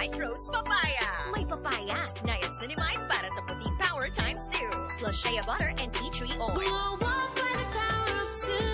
White Rose Papaya. May papaya. Niacinamide para sa puti power times 2. Plus shea butter and tea tree oil. Glow up by the power of two.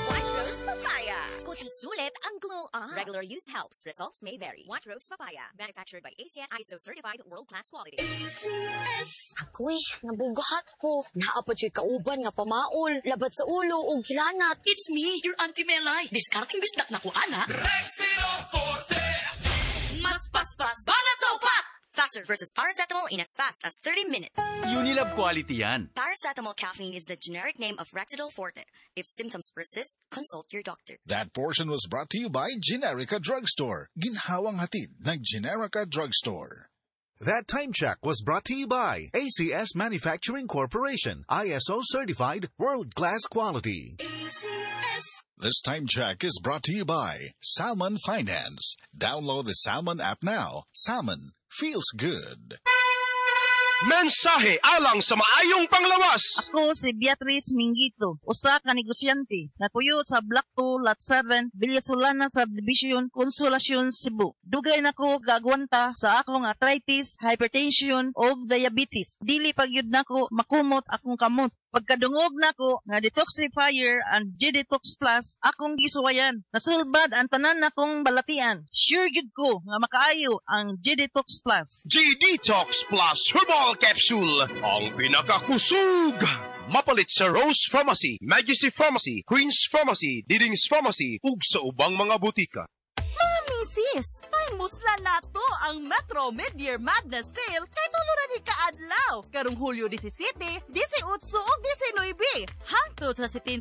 White Rose Papaya. Kuti sulit ang glow up. Regular use helps. Results may vary. White Rose Papaya. Manufactured by ACS ISO certified world-class quality. ACS. Ako'y, nabugahat ko. Naa pa juy kauban nga pamaol, labad sa ulo ug hilanat. It's me, your Auntie Melay. Diskarteng bisdak na ko, ana. Rexidol Forte! Mas paspas banat sa upat! Faster versus paracetamol in as fast as 30 minutes. Unilab quality yan. Paracetamol caffeine is the generic name of Rexidol Forte. If symptoms persist, consult your doctor. That portion was brought to you by Generica Drugstore. Ginhawang hatid ng Generica Drugstore. That time check was brought to you by ACS Manufacturing Corporation, ISO certified world-class quality. ACS. This time check is brought to you by Salmon Finance. Download the Salmon app now. Salmon feels good. Mensahe alang sa maayong panglawas. Ako si Beatrice Mingito, usa ka negosyante, napuyo sa Block 2, Lot 7, Villasolana Subdivision, Consolacion, Cebu. Dugay na ko gagwanta sa akong arthritis, hypertension ug diabetes. Dili pa gyud nako makumot akong kamot. Pagkadungog nako nga detoxifier and G-Detox Plus akong gisuwayan. Nasulbad ang tanan nakong balatian. Sure gyud ko nga makaayo ang G-Detox Plus. G-Detox Plus Herbal Capsule, ang pinakakusog. Mapalit sa Rose Pharmacy, Majesty Pharmacy, Queen's Pharmacy, Diding's Pharmacy, ug sa ubang mga butika. Mga misis, ay musla nato ang Metro Mid-Year Madness Sale kay tulo ra ni kaadlaw. Karong Hulyo 17, 18 ug 19. Hangtod sa 70%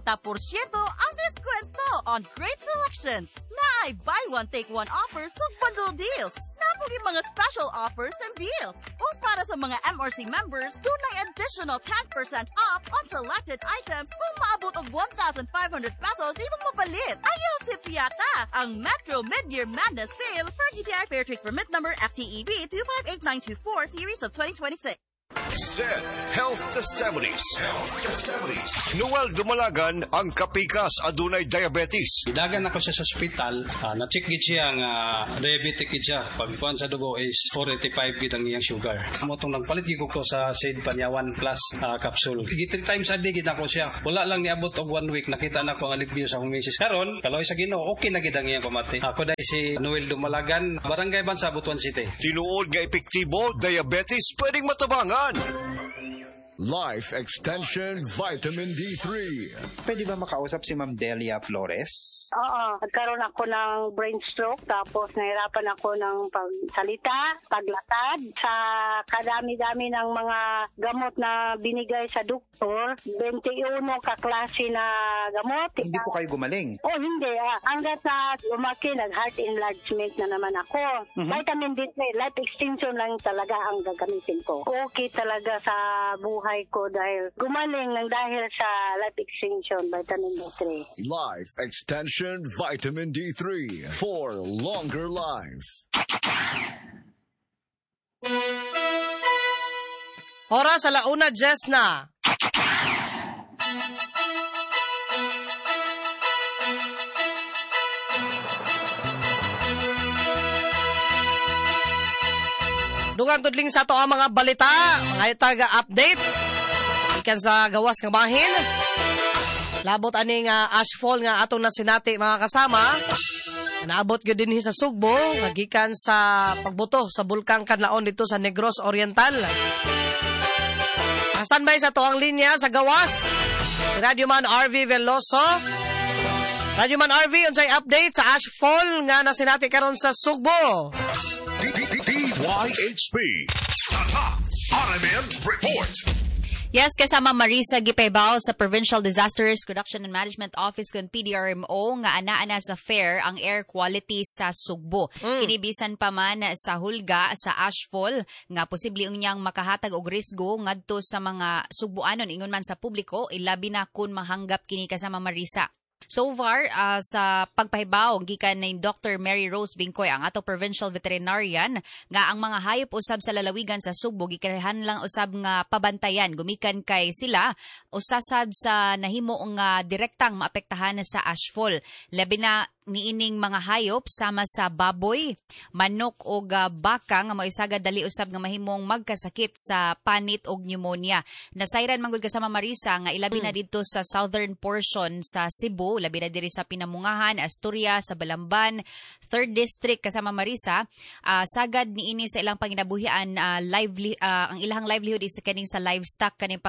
ang diskwento on great selections. Naay buy one take one offers ug bundle deals. Naa poy mga special offers and deals. Ug para sa mga MRC members, dunay additional 10% off on selected items kung maabot og 1,500 pesos imong mapalit. Ayaw sipyata ang Metro Mid-Year Madness Sale for DTI Fair Trade Permit Number FTEB 258924 Series of 2026. Said Health Testimonies. Health Testimonies. Noel Dumalagan ang kapikas adunay diabetes. Gidagan ako siya sa ospital, na-check gid siya nga diabetic gid siya. Pagkuan sa dugo is 485 gid ang iyang sugar. Mao tong nagpalit gid ko sa Seed Panyawan Plus capsule. Gi three times a day gid ako siya. Wala lang niabot og one week, nakita na ko ang alibyo sa akong misis. Karon, kaloy sa Ginoo, okay na gid ang iyang pamati. Ako dahil si Noel Dumalagan, Barangay Bansa, Butuan City. Tinuod nga epektibo, diabetes pwedeng matabangan. Life Extension Vitamin D3. Pwede ba makausap si Ma'am Delia Flores? Oo, nagkaroon ako ng brain stroke, tapos nahirapan ako ng pagsalita, paglakad. Sa kadami-dami ng mga gamot na binigay sa doktor, 21 kaklase na gamot. Hindi po kayo gumaling? Oh, hindi. Hanggat sa lumaki, nag-heart enlargement na naman ako. Vitamin D3, life extension lang talaga ang gagamitin ko. Okay talaga sa buhay ko dahil gumaling ng dahil sa life extension, vitamin D3. Life Extension Vitamin D3 for longer life. Oras 1:10 na. Dugang tudling sa ato ang mga balita, mga taga-update. Ikan sa gawas nga bahin. Labot aning ashfall nga atong nasinati mga kasama. Naabot gyud dinhi sa Sugbo, nga gikan sa pagbuto sa Bulkang Kanlaon dito sa Negros Oriental. Standby sa to ang linya sa gawas. Si Radyoman RV Veloso. Radyoman RV, unsay update sa ashfall nga nasinati karon sa Sugbo? DYHP. Tatak RMN Report. Yes, kasama Marisa Gipaybao sa Provincial Disaster Risk Reduction and Management Office kun PDRMO nga ana-ana sa fair ang air quality sa Sugbo. Kinibisan pa man sa hulga sa ashfall nga posible unyang makahatag og risgo ngadto sa mga Sugboanon ingon man sa publiko, ilabi na kun mahanggap kini kasama Marisa. So far, sa pagpahibaw gikan ni Dr. Mary Rose Bingkoy ang ato provincial veterinarian nga ang mga hayop usab sa lalawigan sa Sugbo gikinahanglan usab nga pabantayan gumikan kay sila usasad sa nahimo nga direktang maapektahan sa ashfall. Labi na niining mga hayop sama sa baboy, manok og baka nga moisagad dali usab nga mahimong magkasakit sa panit og pneumonia. Nasayran man gud, kasama Marisa, nga ilabi na didto sa southern portion sa Cebu, labi na diri sa Pinamungahan, Asturias, sa Balamban, 3rd District, kasama Marisa, sagad niini sa ilang panginabuhian, ang ilang livelihood is kaning sa livestock, kaning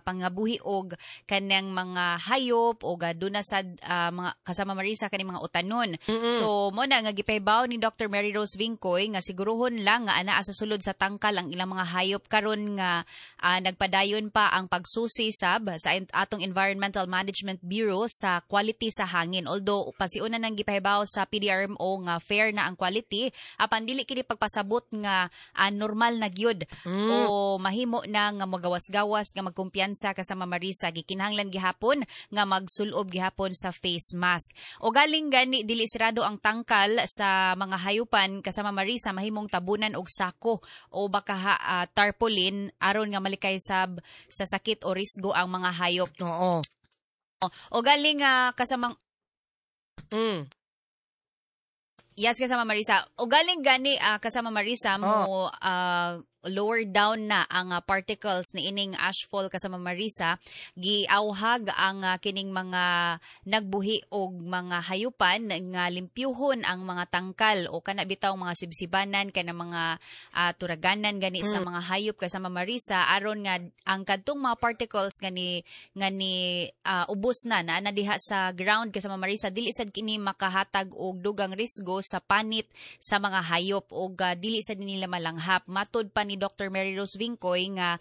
pangabuhi og kanang mga hayop og duna sad mga, kasama Marisa, kaning mga utanon. So mo na nga gipahibaw ni Dr. Mary Rose Vincoy nga siguruhon lang nga anaa sa sulod sa tangkal ang ilang mga hayop karon nga nagpadayon pa ang pagsusi sab sa atong Environmental Management Bureau sa quality sa hangin. Although pasiuna nang gipahibaw sa PDRMO nga fair na ang quality, apan dili kini pagpasabot nga normal na gyud o mahimo na nga magawas-gawas nga magkumpiyansa, kasama Marisa. Gikinahanglan gihapon nga magsulob gihapon sa face mask. O galing gani dili sirado ang tangkal sa mga hayupan, kasama Marisa, mahimong tabunan og sako o baka tarpaulin aron nga malikay sab sa sakit o risgo ang mga hayop. O galing kasamang Yes, kasama Marisa. O galing gani kasama Marisa mo lower down na ang particles ni ining ashfall, kasama Marisa, giauhag ang kining mga nagbuhi og mga hayupan nga limpyuhon ang mga tangkal o kana bitaw mga sibsibanan, kana mga turaganan gani sa mga hayop, kasama Marisa, aron nga ang kadtong mga particles nga ni ubos na na na diha sa ground, kasama Marisa, dili sad kini makahatag og dugang risgo sa panit sa mga hayop og dili sad nila malanghap. Matod pa ni Dr. Mary Rose Vincoy nga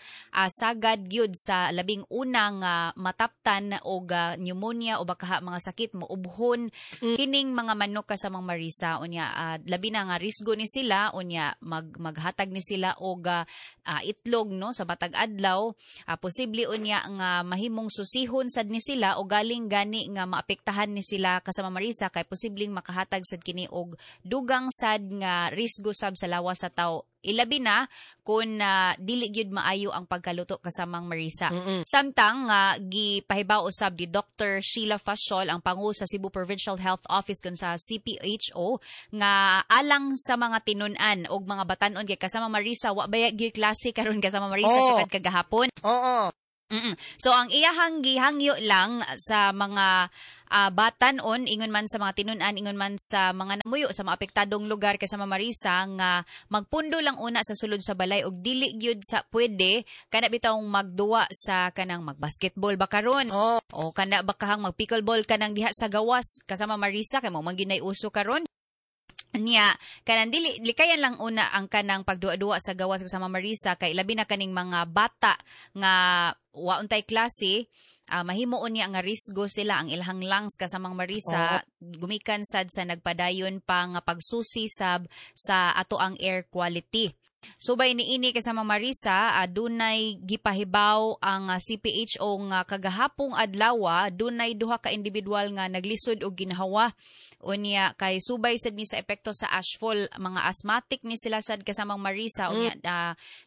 sagad gyud sa labing unang mataptan og pneumonia o baka mga sakit moubhon kining mga manok, kasamang Marisa. Unya labi na nga risgo ni sila, unya maghatag ni sila og itlog, no, sa matag adlaw, posible unya nga mahimong susihon sad ni sila o galing gani nga maapektahan ni sila, kasama Marisa, kay posibleng makahatag sad kini og dugang sad nga risgo sab sa lawas sa tawo, ilabi na kung dili gyud maayo ang pagkaluto, kasamang Marisa. Samtang gipahibaw usab ni Dr. Sheila Faciol, ang pangu sa Cebu Provincial Health Office kun sa CPHO, nga alang sa mga tinun-an og mga batan-on kay, kasama Marisa, wa baya gyud klase karon, kasama Marisa, sukad kagahapon. So ang iyahang gihangyo lang sa mga batan-on, ingon man sa mga tinun-an, ingon man sa mga namuyo sa mga apektadong lugar, kasama Marisa, nga magpundo lang una sa sulod sa balay og dili gyud sa pwede kana bitawng magduwa sa kanang magbasketball ba karon o kana bakahang magpickleball kanang diha sa gawas, kasama Marisa, kay mo man gyud nay uso karon niya. Kanang dili likayan lang una ang kanang pagduwa-duwa sa gawas, kasama Marisa, kay labi na kaning mga bata nga wa untay klase, mahimuon niya nga risgo sila ang ilahang lungs, kasamang Marisa, gumikan sad sa nagpadayon pa nga pagsusi sab sa ato ang air quality. Subay niini, kasama Marisa, dunay gipahibaw ang CPHO nga kagahapong adlaw dunay duha ka individual nga naglisod og ginhawa. Unya kay subay sad ni sa epekto sa ashfall, mga asthmatic ni sila sad, kasamang Marisa. Unya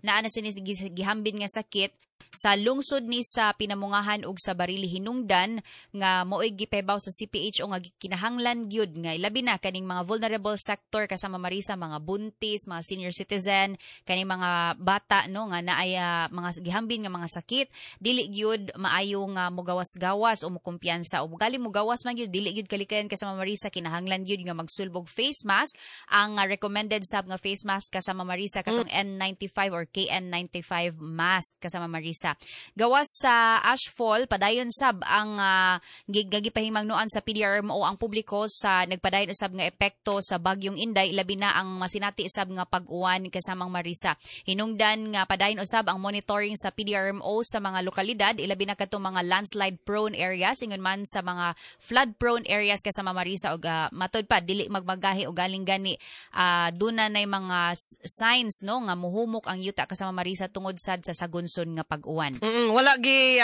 naa na sini gihambin nga sakit sa lungsod ni sa Pinamungahan ug sa Barili. Hinungdan nga mo'y gipahibaw sa CPHO nga kinahanglan gyud nga ilabi na kaning mga vulnerable sector, kasama Marisa, mga buntis, mga senior citizen, kaning mga bata, no, nga naay mga gihambin nga mga sakit, dili gyud maayo nga mogawas-gawas o mokumpiyansa o gali mogawas man gyud, dili gyud kalikayan, kasama Marisa, kinahanglan gyud nga magsulbog face mask. Ang recommended sab nga face mask, kasama Marisa, katong N95 or KN95 mask, kasama Marisa. Gawas sa ashfall, padayon sab ang gipahimangnoan sa PDRMO ang publiko sa nagpadayon usab nga epekto sa bagyong Inday, labi na ang masinati sab nga pag-uwan, kasamang Marisa. Hinungdan nga padayon usab ang monitoring sa PDRMO sa mga lokalidad, ilabi na kadtong mga landslide prone areas, ingon man sa mga flood prone areas, kasama Marisa, og matod pa dili magmagahi o galing gani duna nay mga signs, no, nga muhumok ang yuta, kasama Marisa, tungod sad sa sagunson nga pag-uwan. Wala gi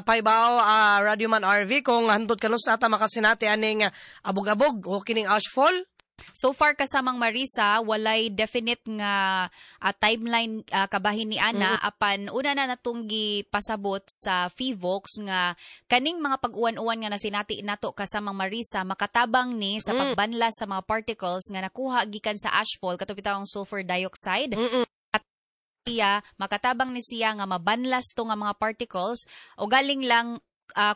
pahibaw Radio Man RV kung hantod kanus ata makasinati aning abog-abog o kining ashfall. So far kasamang Marisa, walay definite nga timeline kabahin ni ana apan una na natong gipasabot sa Phivolcs nga kaning mga pag-uwan-uwan nga nasinati nato kasamang Marisa makatabang ni sa pagbanlas sa mga particles nga nakuha gikan sa ashfall kato bitawang sulfur dioxide. At siya makatabang ni siya nga mabanlas to nga mga particles o galing lang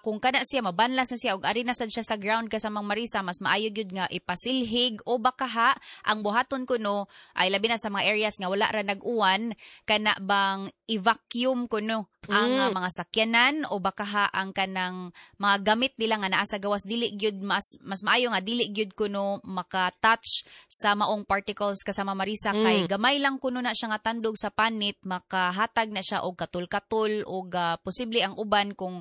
kung kana siya mabanlas na siya og ari na sad siya sa ground kasamang Marisa, mas maayo gyud nga ipasilhig o baka ha ang buhaton kuno ay labi na sa mga areas nga wala ra nag-uwan kana bang i-vacuum kuno ang mga sakyanan o baka ha ang kanang mga gamit nila nga naa sa gawas dili gyud mas maayo nga dili gyud kuno maka-touch sa maong particles kasama Marisa kay gamay lang kuno na siya nga tandog sa panit makahatag na siya og katul-katul og posible ang uban kung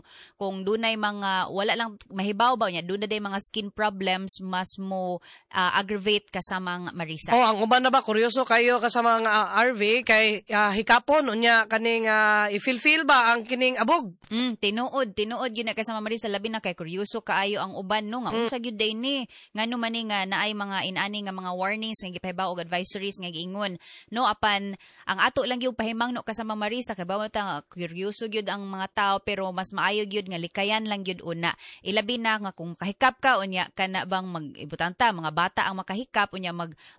dunay mga wala lang mahibaw ba niya dunay day mga skin problems mas mo aggravate kasamang Marisa. Oh, ang uban na ba kuryoso kayo kasamang RV kay hikapon unya kaning i-feel ba ang kining abog? Tinuod gyud na kasama Marisa labi na kay kuryoso kaayo ang uban no nga unsa gyud day ni ngano man ni nga naay mga inani nga mga warnings nga gipahibaw og advisories nga giingon no apan ang ato lang gyud pahimangno kasama Marisa kay bawat nga kuryoso gyud ang mga tao pero mas maayo gyud nga likayan lang gyud una. Ilabi na nga kung kahikap ka unya kana bang mag-ibutang ta mga bata ang makahikap unya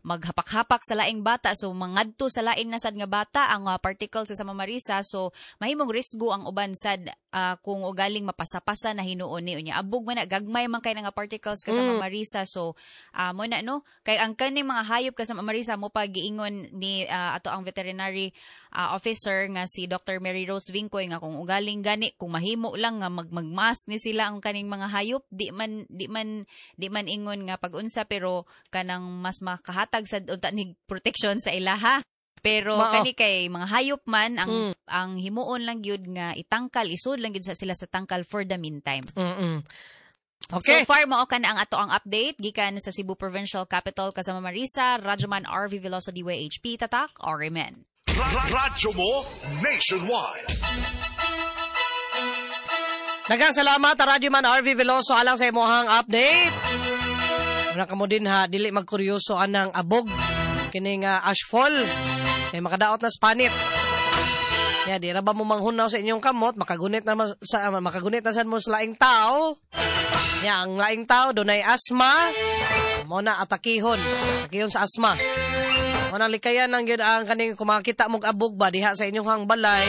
maghapak-hapak sa laing bata so mangadto sa lain na sad nga bata ang particles sa sama Marisa so mahimong risgo ang uban sad kung ugaling mapasapasa na hinuon ni unya abog man na gagmay man kay nga particles kasama Marisa so mo na no kay ang kaning mga hayop kasama Marisa mo pa giingon ni ato ang veterinary officer nga si Dr. Mary Rose Vincoy nga kung ugaling gani kung mahimo lang nga magmask ni sila ang kaning mga hayop di man ingon nga pag-unsa pero kanang mas makahatag sad unta ni protection sa ilaha. Pero kani kay mga hayop man ang ang himuon lang gyud nga itangkal isud lang gyud sa sila sa tangkal for the meantime. Okay. So far mao ka na ang ato ang update gikan sa Cebu Provincial Capital kasama Marisa, Radyoman RV Veloso DYHP Tatak RMN. Radyo mo nationwide. Daghang salamat Radyoman RV Veloso alang sa imong update. Wala kamo din ha dili magkuryoso anang abog kining ashfall kay makadaot na spanit. Ya di ra ba mo manghunaw sa inyong kamot makagunit na sad mo sa laing tao. Ya ang laing tao dunay asma mo na atakihon sa asma. Mo na likayan ang gyud ang kaning kumakita mog abog ba diha sa inyong balay.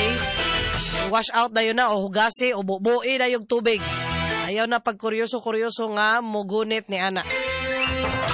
Wash out dayon na o hugasi o bubui dayog tubig. Ayaw na pag kuryoso-kuryoso nga mugunit ni ana.